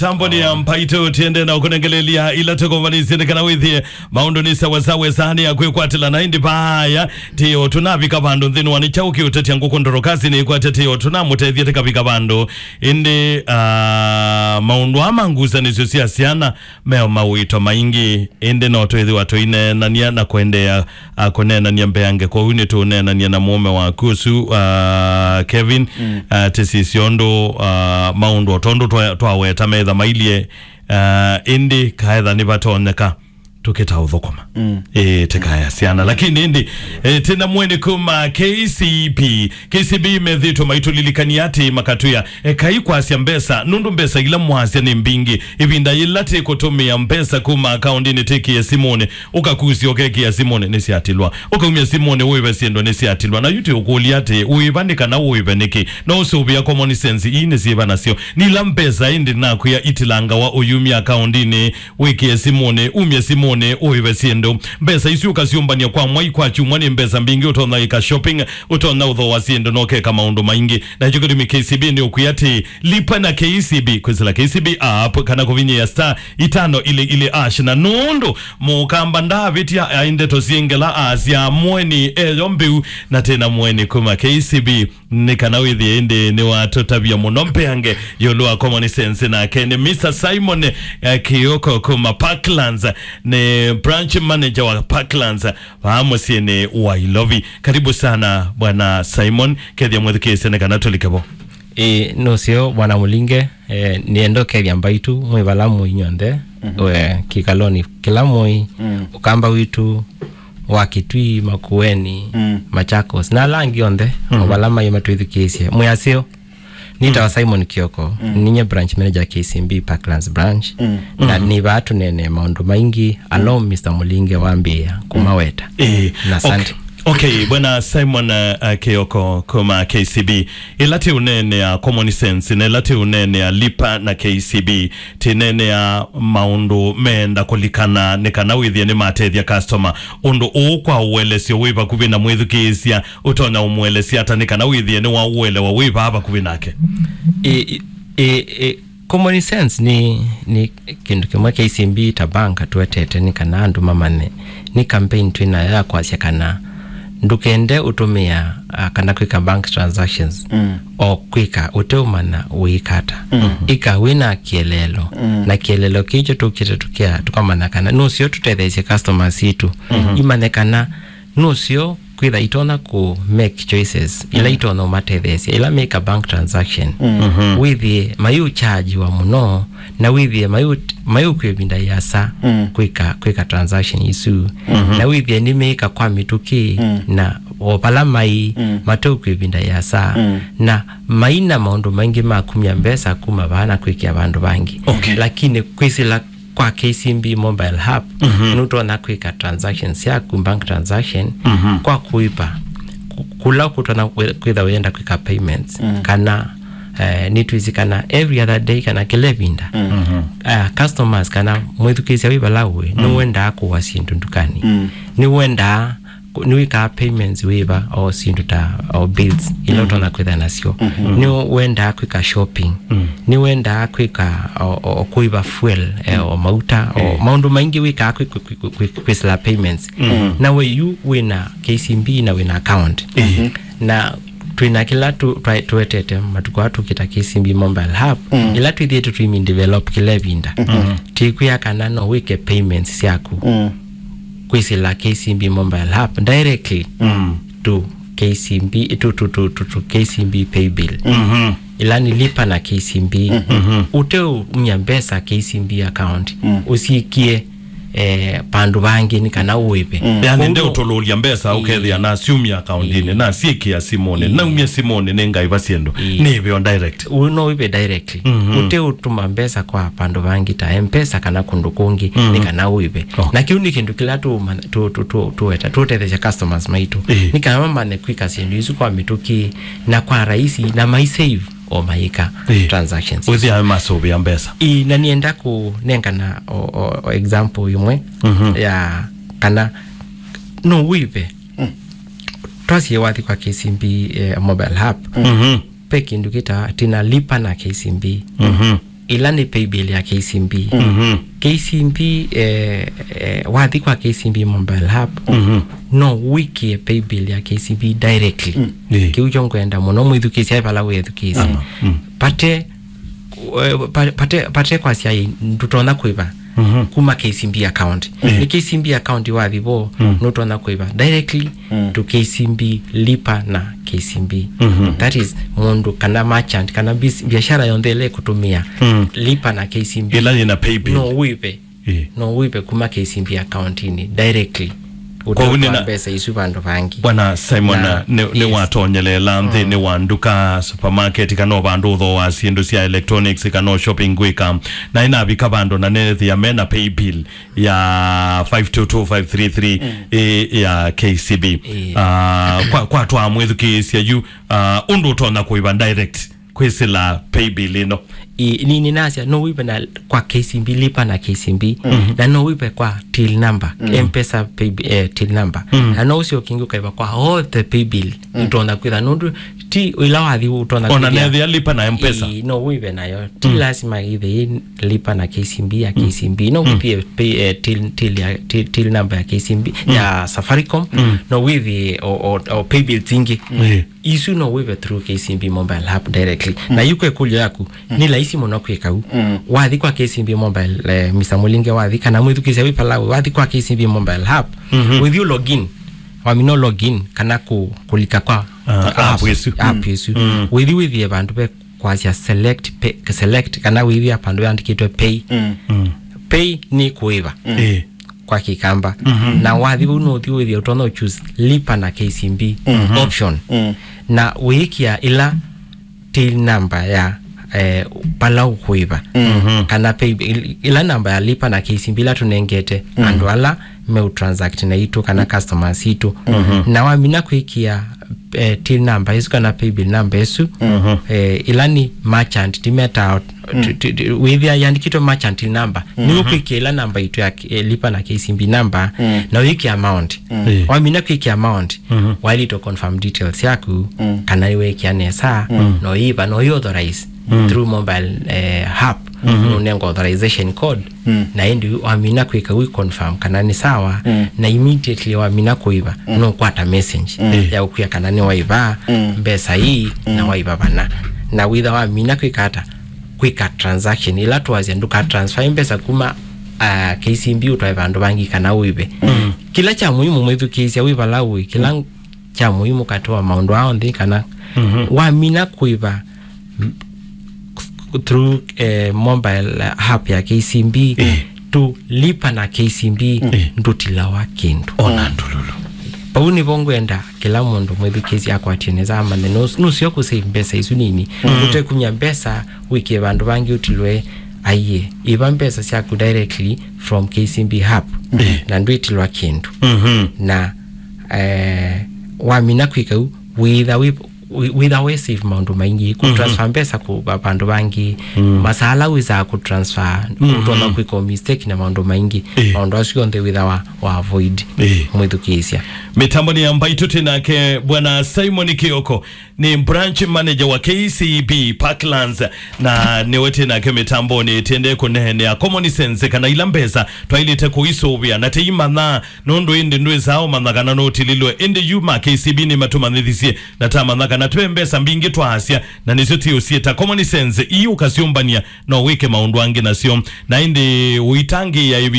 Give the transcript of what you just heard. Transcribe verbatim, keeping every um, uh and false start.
Tamboni ya Mbaitũ, tiende na ũkũnengelelia ila tũkũvanisye nĩ kana wĩthĩe maũndũ nĩ sawasawa, ĩsaa nĩ ya kwĩkwatĩla na ĩndĩ vaya. Ti o tũnavika vandũ nthĩnĩ wa nĩ kyaũ kĩũtetya ngũkũ ndorokasi nĩ ĩkwatya ti o tũnamũtethya tĩkavika vandũ. Ĩndĩ, ah, maũndũ aa ma ngusanĩsyo sya syana meo mawĩto maingĩ, ĩndĩ no twĩthĩwa tũineenany'a na kũendeea, ah, kũneenany'a mbeange. Kwoou nĩtũũneenany'a na mũũme waku ũsu, ah, Kevin, ah, tĩsisye ũndũ, ah, maũndũ o tondũ twa- twaweta metha mailyĩ, ah, ĩndĩ kaetha nĩvatonyeka tũkĩta ũthũkũma. Ĩĩ, tĩkaya syana. Lakini ĩndĩ, eh, tĩna mweni kuma K C B. K C B methĩtwe maitũlilikania atĩ makatwĩa, ekai kwasya mbesa, nũndũ mbesa ila mwasya nĩ mbingĩ. Ĩvinda yĩla tĩkũtũmĩa mbesa kuma akaũndinĩ tĩkĩe simũnĩ, ũkakusya ũkekĩa simũnĩ nĩsyatilwa. Ũkaumya simũnĩ ũĩve syĩndũ nĩsyatilwa. Na yu tĩũkũlya atĩ, ũĩva nĩ kana ũĩve nĩkĩ? No ũsũvĩa common sense, ii nĩ syĩva nasyo? Nĩ ila mbesa ĩndĩ nakwĩa itilangawa ũyumya akaũndinĩ, wĩkĩe simũnĩ, umye simũnĩ, ũĩve syĩndũ. Mbesa isu ũkasyũmbany'a kwa mwai, kwa kyumwa, nĩ mbesa mbingĩ. Ũtonya ĩka shopping, ũtonya ũthooa syĩndũ, na ũkeka maũndũ maingĩ. Na kyo kĩtumi K C B nĩ ũkwĩa atĩ, lipa na K C B, kwĩsĩla K C B app, kana kũvinyĩa star itano ile ile hash. Na nũndũ mũkamba ndavĩtya, ai ndeto syĩ ngela, asya mweni eyo mbĩu, na tena mweni kuma K C B. Nĩ kana wĩthĩe ĩndĩ nĩwatũtavya mũno mbeange ĩũlũ wa common sense, nake nĩ Mister Simon, eh, Kioko kuma Parklands, nĩ branch manager wa Parklands vaa mũsyĩnĩ wa Ilovi. Karibu sana, Bwana Simon, kethya mwĩthukĩĩsye nĩ kana tũlike vo. Ĩ, nũseo, Bwana Mũlinge, eh, nĩenda ũkethya Mbaitũ mwĩ vala mũi nyw'onthe, we, kĩkalonĩ kĩla mũi, Ũkamba witũ wa Kitui, Makueni, Machakos, na ala angĩ onthe, o vala maĩ matwĩthukĩĩsye. Mwĩ aseo, nĩtawa Simon Kioko, ninye branch manager K C B Parklands branch, na nĩ vaa tũneenee maũndũ maingĩ, along Mister Mũlinge wambĩĩa kũmaweta. Ĩĩ, na asante. Okay, okay, Bwana Simon, uh, uh, Kioko kuma K C B, ĩla tĩũneenea common sense, na ĩla tĩũneenea lipa na K C B, tĩneenea maũndũ meenda kũlikana nĩ kana wĩthĩe nĩmatethya customer. Ũndũ ũũ kwa ũelesyo wĩ vakuvĩ na mwĩthukĩĩsya, ũtonya ũmũelesya ata nĩ kana wĩthĩe nĩwaũelewa wĩ vaa vakuvĩ nake? Ĩ, ĩ, ĩ, ĩ, common sense nĩ, nĩ kĩndũ kĩmwe K C B ta bank tũetete nĩ kana andũ mamanye. Nĩ campaign twĩ nayo ya kwasya kana ndũkende ũtũmĩa, ah, kana kwĩka bank transactions o kwĩka ũteũmanya wĩka ata. Ĩka wĩ na kĩeleelo, na kĩeleelo kĩkyo tũkĩte tũkĩa, tũkamanya kana nũseo tũtetheesye customers sitũ imanye kana nũseo kwĩtha itonya kũ make choices ila itonya ũmatetheesya ila meka bank transaction. Wĩthĩe mayũchargiwa mũno, na wĩthĩe mayũ- mayũkw'a ĩvinda yĩasa kwĩka, kwĩka transaction isu, na wĩthĩe nĩmeĩka kwa mĩtũkĩ, na o vala mai mateũkw'a ĩvinda yĩasa, na maina maũndũ maingĩ ma kumya mbesa kuma vaa na kwĩkĩa vandũ vangĩ. Okay. Lakini kwĩsĩla kwa K C B mobile app, nũtonya kwĩka transactions syaku, bank transaction, kwa kũipa ku- kũla kũtonya kwĩ- kwĩtha wĩenda kwĩka payments, kana, eh, nĩtwĩsĩ kana every other day kana kĩla ĩvinda, eh, customers kana mwĩthukĩĩsya wĩ vala ũĩ, nĩwendaa kũa syĩndũ ndukanĩ, nĩwendaa kũ- nĩwĩkaa payments wĩva, o syĩndũ ta, o bills ila ũtonya kwĩtha nasyo, nĩwendaa kwĩka shopping, nĩwendaa kwĩka o, o, o kũiva fuel, eh, o mauta, o maũndũ maingĩ wĩkaa kwĩ- kwĩ- kwĩ- kwĩ- kwĩsĩla payments. Na we yu wĩna K C B na wĩna account. Na twĩna kĩla tũ- twa- tũetete matukũ aa tũkĩta K C B mobile app, ĩla twĩthĩĩtwe tũimi develop kĩla ĩvinda. Tĩkwĩa kana no wĩke payments syaku kwĩsĩla K C B mobile app directly to K C B, to, to, to, to, to K C B pay bill. Ĩla nĩ lipa na K C B. Ũteũmya mbesa K C B account, ũsikie, eh, pandũ vangĩ nĩ kana ũĩve. Yani, kwoou ndeũtũlũlya mbesa, ũkethĩa nasiumya akaundinĩ, nasiĩkĩa simũnĩ, naumya simũnĩ, nĩngaiva syĩndũ, nĩĩve o direct. Ũũ no ũive directly. Ũteũtũma mbesa kwa pandũ vangĩ ta M-Pesa kana kũndũ kũngĩ, nĩ kana ũive. Na kĩu nĩ kĩndũ kĩla tũũmanya- tũ- tũ- tũ- tũweta- tũũtetheesya customers maitũ. Nĩ kana mamanye kwĩka syĩndũ isu kwa mĩtũkĩ na kwa raisi, na mai save o mayĩka transactions. Wĩthĩa masũvĩa mbesa. Ĩĩ, na nĩenda kũnengana o- o- o example ĩmwe ya kana no ũive. Twasie wathi kwa K C B, eh, mobile app. Ve kĩndũ kĩta tina lipa na K C B. Ĩla nĩ paybill ya K C B. Mhm. K C B, eh, eh, wathi kwa K C B mobile app, mhm, no wĩkĩe paybill ya K C B directly. Mm. Ĩĩ. Kĩu kyo ngwenda mũno mwĩthukĩĩsya vala wĩthukĩĩsya. Aha. Mm. Pate, eh, pa-, pate, pate kwasya ĩ, ndũtonya kũĩva, mhm, kuma K C B account. Ĩĩ. Nĩ K C B account wathi vo, mm, nũtonya kũĩva directly, mm, to K C B, Lipa na K C B. Mhm. That is, mũndũ kana merchant, kana bis-, biashara yonthe ĩla ĩkũtũmĩa, mm, Lipa na K C B, ĩla yĩna paybill, no wĩve. Ĩĩ. No wĩve kuma K C B account-inĩ directly. Kwoou ũteũtwaa nĩna mbesa isu vandũ vangĩ. Bwana Simon, na, nĩ, nĩ, yes, watonyeleela nthĩnĩ, mm, wa nduka, supermarket, kana o vandũ ũthooaa syĩndũ sya electronics, kana o shopping gwĩka. Na ĩnavika vandũ na nethĩa mena paybill ya five two two five three three, mm, ĩ, ya K C B. Ĩĩ. Ah, kwa, kwa twamwĩthukĩĩsya yu, ah, ũndũ ũtonya kũĩva direct kwĩsĩla paybill ĩno. Ĩĩ, ni, ninasya, no wĩve na kwa K C B, Lipa na K C B, mm, na no wĩve kwa till number, mm, M-Pesa payb-, eh, till number. Mm. Na no ũsyoke ũngĩ ũkaĩva kwa all the paybill, mm, ũtonya kwĩtha, nũndũ ti ĩla wathi ũtonya ona kwĩthĩa nethĩa Lipa na M-Pesa. Ĩĩ, no wĩve nayo. Ti, mm, lasima ĩthĩ Lipa na K C B ya, mm, K C B. No, mm, wĩthĩe pay, eh, till, till ya, till, till number ya K C B, mm, ya Safaricom. Mm. No wĩthĩe o, o, o paybills ingĩ. Mm. Ĩĩ. Isu no wĩve through K C B mobile app directly. Mm. Na yu kwa ĩkũlyo yaku, mm, nĩ laisi mũno kwĩka ũu. Mm. Wathi kwa K C B mobile, eh, Mister Mulinge wathi, kana mwĩthukĩĩsya wĩ palawe, wathi kwa K C B mobile app, mhm, wĩthi ũ login, wamina ũ login, kana kũ-, kũlika kwa, ah, kwa app apps, ĩsu. App, mm, ĩsu. Mm. Wĩthi wĩthĩe vandũ ve kwasya select pay, select, kana wĩthĩa vandũ vandĩkĩtwe pay. Mm. Mm. Pay nĩ kũĩva. Mm. Ĩĩ. Kwa Kĩkamba. Mhm. Na wathi vau nũthi wĩthĩa ũtonya ũ choose Lipa na K C B, mhm, option. Mm. Na wĩĩkĩa ĩla till number ya, eh, pala ũkũĩva. Mhm. Kana pay, ĩla namba ya Lipa na K C B ĩla tũnengete, mm, andũ ala meũ transact naitũ kana customers itũ. Mhm. Na wamina kwĩkĩa, eh, till number ĩsu kana paybill number ĩsu, mhm, eh, ĩla nĩ merchant, timetaa, mm, ti-, ti-, ti-, wĩthĩa yandĩkĩtwe merchant number. Nĩw'o, mhm, kwĩkĩa ĩla namba itũ ya, eh, Lipa na K C B number, mm, na wĩkĩa amount. Mm. Eh. Wamina kwĩkĩa amount, mhm, waĩlĩte confirm details yaku, mm, kana nĩwĩkĩa nesa, mm, no ĩva, no authorize, mm, through mobile, eh, app, mm-hmm, nũnenga authorization code, mm, na ĩndĩ wamina kwĩka wĩ confirm kana nĩ sawa, mm, na immediately wamina kũĩva, mm, nũkwata message, mm, ya ũkwĩa kana nĩ waĩva, mm, mbesa ii, mm, na waĩva vana. Na wĩtha wamina kwĩka ata? Kwĩka transaction. Ĩla twasya ndũka transfer mbesa kuma, ah, K C B ũtwae vandũ vangĩ kana ũĩve. Mm. Kĩla kya mũimu mwĩthukĩĩsya wĩ vala ũĩ, kĩla, mm, kya mũimu katĩ wa maũndũ aa onthe kana, mhm, wamina kũĩva, m-, through, eh, mobile app ya K C B, eh, to Lipa na K C B, eh, ndũtilawa kĩndũ. Ona ndũlũlũ. Vau nĩvo ngwenda kĩla mũndũ mwĩthukĩĩsya akwatie nesa amanye nũs-, nũseo kũsave mbesa isu nini. Mm. Ũtekumya mbesa wĩkĩe vandũ vangĩ ũtilwe, aiye, ĩva mbesa syaku directly from K C B app, eh, na ndwĩtilwa kĩndũ. Mhm. Na, eh, wamina kwĩka ũu, wĩtha wĩ wĩ-, wĩtha we save maũndũ maingĩ, kũ, mhm, transfer mbesa kũ va-, vandũ vangĩ, mm, masaa ala wĩsaa kũ transfer, mhm, ũtonya kwĩka mistake na maũndũ maingĩ. Eh. Maũndũ asu onthe wĩtha wa, wa avoid, eh, mwĩthukĩĩsya. Mĩtamboni ya Mbaitũ twĩ nake Bwana Simon Kioko, nĩ branch manager wa K C B Parklands, na nĩwe twĩ nake mĩtamboni, tĩendee kũneenea common sense kana ila mbesa twaĩlĩte kũisũvĩa na tĩimanya, nũndũ ĩndĩ ndwĩsaa ũmanya kana nũtililwe. Ĩndĩ yu ma K C B nĩmatũmanyĩthisye na tamanya kana twĩ mbesa mbingĩ twaasya, na nĩsyo tiũsyĩta common sense. Ii ũkasyũmbany'a, no wĩke maũndũ angĩ nasyo. Na ĩndĩ ũitangĩĩa ĩvi